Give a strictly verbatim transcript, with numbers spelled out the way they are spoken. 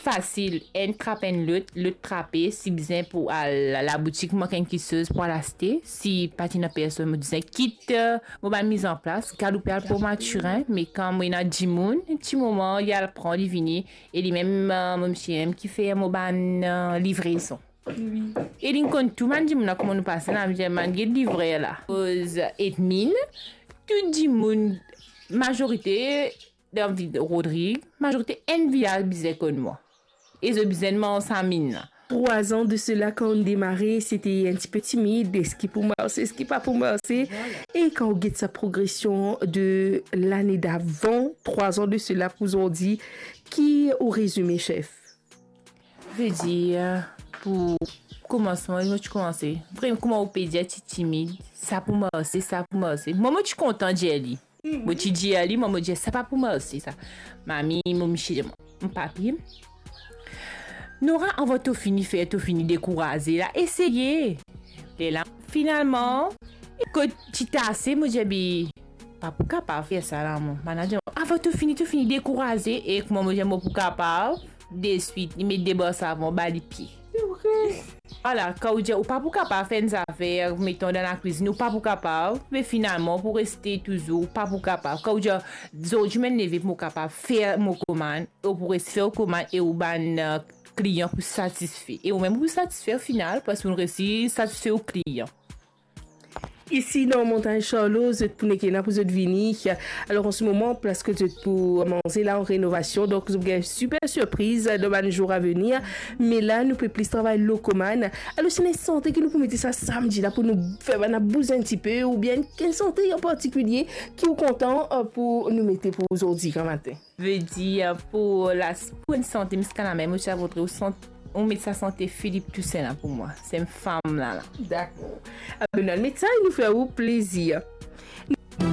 fasil, enn trap enn lot, lot trape, si bizin pou al laboutik, mank enn kiksoz pou al aste, si pa ti ena personn, mo dizin kit, eh, mo bann mizanplas, galoupe al port Mathurin, me kan mo ena dimoun, ti moman, li al pran, li vini, e li mem, eh, mo misie mem ki fer mo bann, eh, livrezon. Wi. E li konn tou bann dimoun la, kouma nou pase la, mo dir, bann get livrer la. Koz Edmine, tou dimoun, mazorite, dan vil Rodrig, mazorite enn vilaz bizin konn mwa. E zot bizin manz sa minn la. Trois ans de cela, quand on démarrait, c'était un petit peu timide. Est-ce qu'il pou marse, est-ce qu'il pa pou marse? Voilà. Et quand on guette sa progression de l'année d'avant, trois ans de cela, pou zordi, ki ou rezime, chef? Ve dir, pou koumansman, mo ti koumanse. Vremem, kouma ou pe dir, ti timid, sa pou marse, sa pou marse. Mwa, mo ti kontan dir li. Mo ti dir li, mwa, mo dir, sa pa pou marse, sa. Mami, mo misie, mo papi. Nora, avan to fini fer, to fini dekouraze la, eseye. Lerla, finalman, kot ti ase, mo dir, be, pa pou kapav fer sa la, mo manager. Avan to fini, to fini dekouraze, e kouma mo dir, mo pou kapav, deswit, li met de bor savon, ba li pie. Vwala, kan ou dir ou pa pou kapav fer enn zafer, meton dan lakwizinn, ou pa pou kapav, me finalman, pou reste touzour, ou pa pou kapav. Kan ou dir, zordi mo leve pou mo kapav fer mo komann, ou pou res fer ou komann e ou bann, eh, klian pou satisfe. E ou mem pou satisfe o final, parski ou resi satisfe ou klian. Isi dan Montagne Charlot, zot pou nek ena pou zot vini. Alor, an se moman, parski zot pou manze la an renovasion, donk zot pou gagn siper sirpriz dan bann zour a venir. Me la, nou pe plis travay lor komann. Alor, si ena enn sante ki nou pou mete sa samdi la pou nou fer bann bouz enn tipe, oubien enn sante an partikilie ki ou kontan, eh, pou nou mete pou zordi gramatin? Ve dir, pou la, pou enn sante miska lamem, mo ti a voudre ou sant-, ou met sa sante Philippe Toussaint la pou mwa. Se enn fam la, la. Dakor. Abe, nou al met sa e nou fer ou plezir.